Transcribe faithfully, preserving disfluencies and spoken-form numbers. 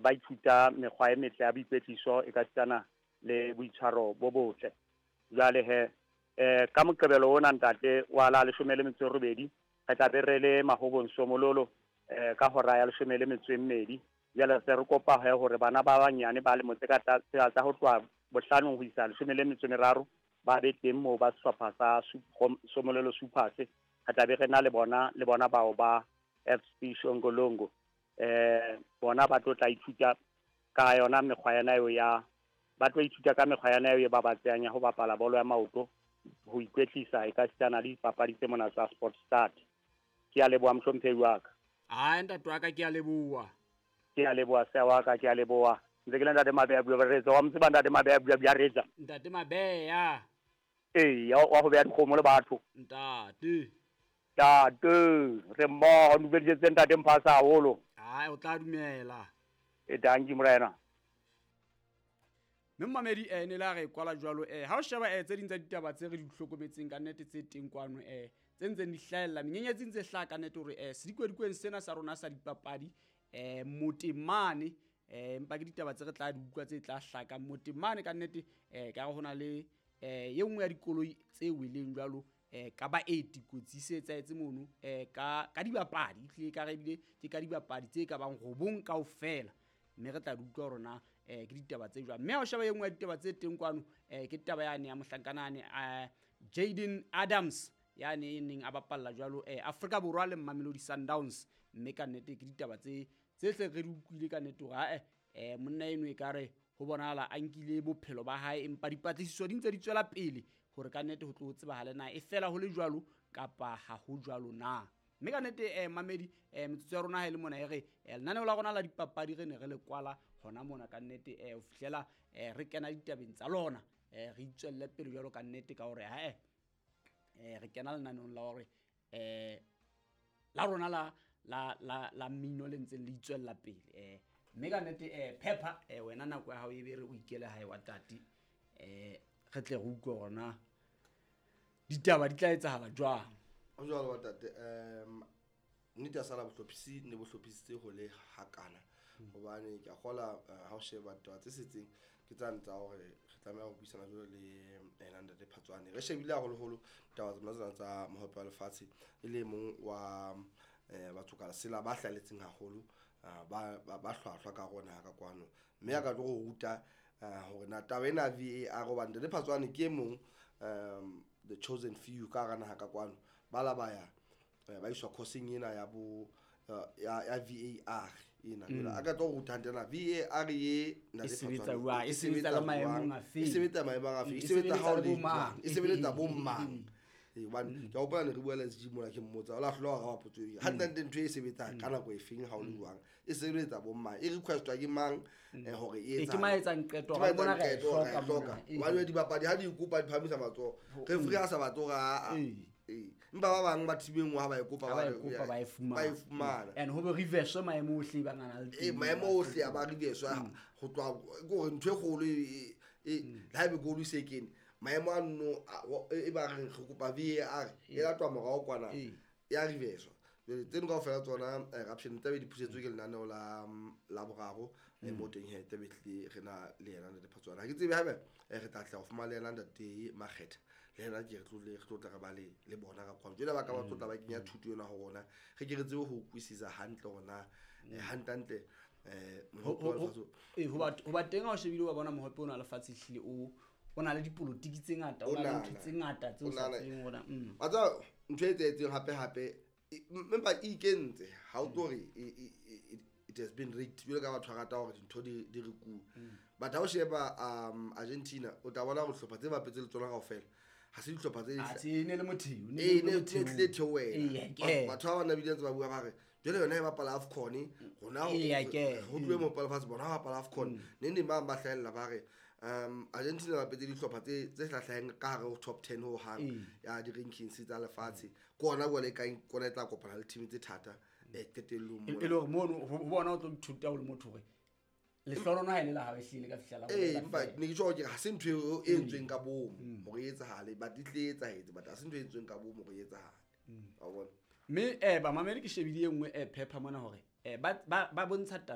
Ba ithuta mekgwa e metle ya boikwetliso e ka sitana le boitshwaro bo botle. Jwale he eh ka Moqebelo ona, ntate, wa la leshome le metso e robedi, re tla be re le Mahobong Somololo eh ka hora ya leshome le metso e mmedi. Jwale se re kopa he hore bana ba banyane ba lemo tse ka tsa ho tloha bohlanong ho isa leshome le metso e meraro ba be teng moo ba sehlopha sa Somololo Supers. Re tla be re na le bona le bona bao ba F C Shongolongo. eh bona ba tlo tla ithuta ka yona mekgwa yana eo ya ba tlo ithuta ka mekgwa yana eo e babatsehang ya ho bapala bolo ya maoto, ho ikwetlisa e ka sitana le dipapadi tse mona tsa Sport Start. Ke a leboha, mohlomphehi wa ka. Ai, ntate wa ka, ke a leboha. Ke a leboha, seya wa ka, ke a leboha. Ntse ke le ntate Mabeya bua retsa wa motse ba ntate Mabeya bua bua retsa. Ntate Mabeya. Ee, wa ho beha dikgomo le batho. Ntate. Ntate, re mmoho, dumedisetse ntate Mphasa haholo. Ai, o tla dumela. E, dankie, morena. Mme momamedi, um ne la re kwala jwalo. um ha o sheba um tse ding tsa ditaba tse re di hlokometseng ka nnete tse teng kwano, um tse ntseng di hlahella menyenyetsi ntse hlaha ka nnete hore um sedikwedikweng sena sa rona sa dipapadi um motemane, um empa ke ditaba tse re tla di utlwa tse tla hlakang motemane ka nnete. um ka re ho na le um ye nngwe ya dikoloi tse weleng jwalo um ka baeti, kotsi se etsahetse mono um ka ka dibapadi, ehlile ka re ebile ke ka dibapadi tse ka bang robong kaofela, mme re tla di utlwa hore na um ke ditaba tse jwang. Mme ha o sheba e nngwe ya ditaba tse teng kwano, um ke taba yane ya mohlankana um Jaden Adams yane e neng a bapalla jwalo um Afrika Borwa le Mamelodi Sundowns. Mme ka nnete ke ditaba tse tse hle re di utlwile ka nnete hore ae, um monna eno e ka re ho bonahala a nkile bophelo ba hae, empa dipatlisiso di ntse di tswela pele hore ka nnete ho tlo tsebahale na e fela ho le jwalo kapa ha ho jwalo na. Mme ka nnete, um mamedi, um metsotso ya rona ha e le mona e re um lenaneo la rona la dipapadi re ne re le kwala hona mona ka nnete um ho fihlela um re kena ditabeng tsa lona, um re itswelle pele jwalo ka nnete ka hore hae um re kena lenaneong la hore um la rona la la la la mmino le ntseng le itswella pele. um mme ka nnete, um Phepha, um wena nako ya hao e be re o ikele hae wa tate, um re tle re utlwe hore na ditaba di tla etsahala jwang. Ho jwalo wa tate. um nnete ya sala bohlophisi ne bo hlophisitse ho le hakana, hobane ke a kgola eh, ha o sheba taba tse setseng ke tsane tsa hore re tlameha ho buisana jwalo le ena ntate Phatswane. Re shebile haholoholo taba tsona tsena tsa Mohope wa Lefatshe, e le mong wa um batho ka lesela ba hlaletseng haholo, ah, ba ba ba hlwahlwa ka hare ho naha ka kwano, mme a ka tlo go ruta eh, hore na taba ena ya V A R, hobane ntate Phatswane ke e mong um the chosen few ka hara naha ka kwano ba la ba ya eh, ba iswa course-eng ena ya bo eh, ya ya V A R ena. Jwale a ka tlo go ruta hantle na V A R ye E sebetsa jwang, e sebetsa le maemong a feng? E sebetsa maemong a feng, E e sebetsa ha o sebeletsa le le bo mang? Jwang, e sebeletsa bo mang? Ee, hobane ke a hopola ne re bua le S G mona, ke mmotsa o la hlola wa araba potso eo hantle ntho e sebetsang ka nako e feng, ha o le jwang, e sebeletsa bo mang, e requestwa ke mang eh, hore e Ee, ke mang a etsang qeto Ke hore mang mona etsang re a e qeto hore re a e hloka hloka? mona. Ee. Hobane dibapadi ha di kopa di phamisa matsoho, referee a sa batle hore aa. Ee. Ee, empa ba bang ba team e nngwe ha ba e kopa Ha ba ba e re- kopa ba e fumana. Ba e fumana. And ho be reverse maemo ohle ba ngana le Ee, teng. Maemo ohle a ba reverse ho tloha ke hore ntho e kgolo e- e- le ha ebe goal e se kene, maemo a nno a- wa- e ba reng re kopa V A R e latwa morao kwana, Ee. ya reverse. Jwale tseno kaofela tsona eh, raption tlabe di phusetswe ke lenaneo la mm, la boraro eh, mo teng he tlabe tlile re na le yena ntate Phatswana. Ha ke tsebe haebe eh, re tla tla ho fumana le yena ntate Makgetha, le yena ke re tlo re tlo tla re ba le le bona ka kwano. Jwale ba ka ba tlo tla ba kenya thuto ena ho rona, re ke re tsebe ho utlwisisa hantle hore na eh, hantle-hantle eh Ho- mohope wa ho- ho- lefatshe. ee, ho ba- ho ba teng ha o shebile wa bona mohope ona wa lefatshe ehlile o o na le dipolotiki tse ngata, o na le O ntho nana. tse ngata tse o O sa nana. tsebeng hore mm. Wa tseba ntho e etsahetseng hape-hape, e- empa e ikentse ha o tlo re e- e- e- it has been rigged jwalo ka batho ba rata hore dintho di di rekuwe. But ha o sheba um Argentina, o tla bona hore dihlopha tse bapetse le tsona kaofela ha se dihlopha tse Atjhe, e ne le motheo, ne ee le ne ne motheo. tlile theohela. Ee, ke. Batho ba bang bile ntse ba bua ba re jwale yona e bapala AFCON, rona ho Ee, ke. ho tluwe mohope wa lefatshe, bona ba bapala AFCON. Neng neng ba bang ba hlahella ba re um Argentina ba bapetse dihlopha tse tse hlahlaheng ka hare ho top ten ho hang Ee. ya di-rankings tsa lefatshe, ke ona jwale e kang ke ona e tla kopana le team tse thata um qetellong E mona. e le hore mono ho ho bona o tlo ithuta o le motho hore lehlohonolo ha e le la hao, ehlile ka fihla la Ee, bolela empa feela. ne ke tjho hore ke re ha se ntho eo e entsweng ka bomo hore e etsahale, but e tlile e etsahetse, but ha se ntho e entsweng ka bomo hore e etsahale, wa bona. Mme um bamamedi, ke shebile e nngwe um phepha mona hore um ba ba ba bontsha taba.